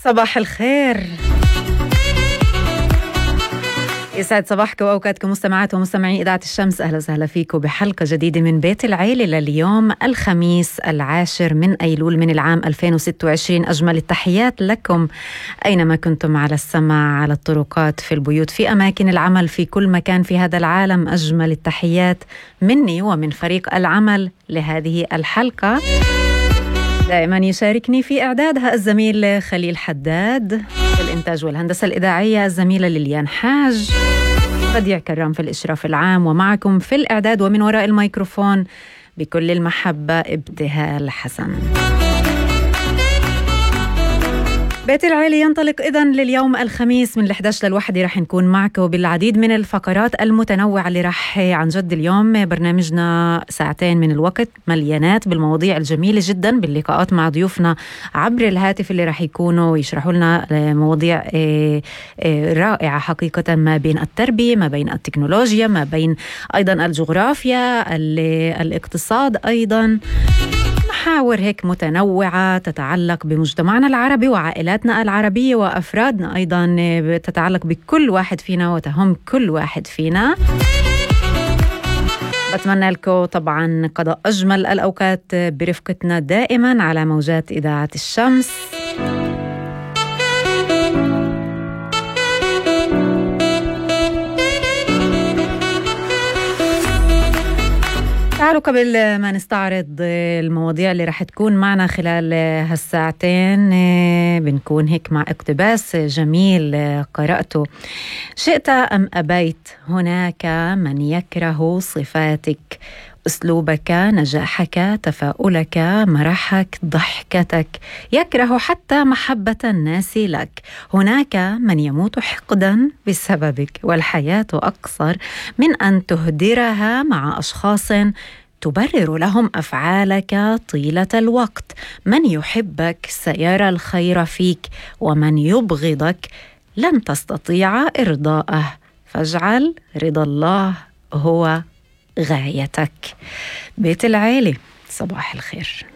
صباح الخير، يسعد صباحكم وأوقاتكم مستمعات ومستمعي إذاعة الشمس. أهلا وسهلا فيكم بحلقة جديدة من بيت العيلة لليوم الخميس 10 من أيلول من العام 2026. أجمل التحيات لكم أينما كنتم على السماع، على الطرقات، في البيوت، في أماكن العمل، في كل مكان في هذا العالم. أجمل التحيات مني ومن فريق العمل لهذه الحلقة. دائما يشاركني في إعدادها الزميل خليل حداد، في الإنتاج والهندسة الإذاعية الزميلة ليليان حاج، بديع كرام في الإشراف العام، ومعكم في الإعداد ومن وراء الميكروفون بكل المحبة ابتهال حسن. بيت العيلة ينطلق إذن لليوم الخميس من 11 للواحدة. رح نكون معكم بالعديد من الفقرات المتنوعة اللي رح عن جد اليوم برنامجنا ساعتين من الوقت مليانات بالمواضيع الجميلة جدا، باللقاءات مع ضيوفنا عبر الهاتف اللي رح يكونوا يشرحوا لنا مواضيع رائعة حقيقة، ما بين التربية، ما بين التكنولوجيا، ما بين أيضا الجغرافيا، الاقتصاد، أيضا محاور هيك متنوعة تتعلق بمجتمعنا العربي وعائلاتنا العربية وأفرادنا، أيضا تتعلق بكل واحد فينا وتهم كل واحد فينا. بتمنى لكم طبعا قضاء أجمل الأوقات برفقتنا دائما على موجات إذاعة الشمس. تعالوا قبل ما نستعرض المواضيع اللي رح تكون معنا خلال هالساعتين، بنكون هيك مع اقتباس جميل قرأته. شئت أم أبيت هناك من يكره صفاتك، أسلوبك، نجاحك، تفاؤلك، مرحك، ضحكتك، يكره حتى محبة الناس لك. هناك من يموت حقدا بسببك، والحياة أقصر من أن تهدرها مع أشخاص تبرر لهم أفعالك طيلة الوقت. من يحبك سيرى الخير فيك، ومن يبغضك لن تستطيع إرضاءه، فاجعل رضا الله هو غايتك. بيت العيلة، صباح الخير.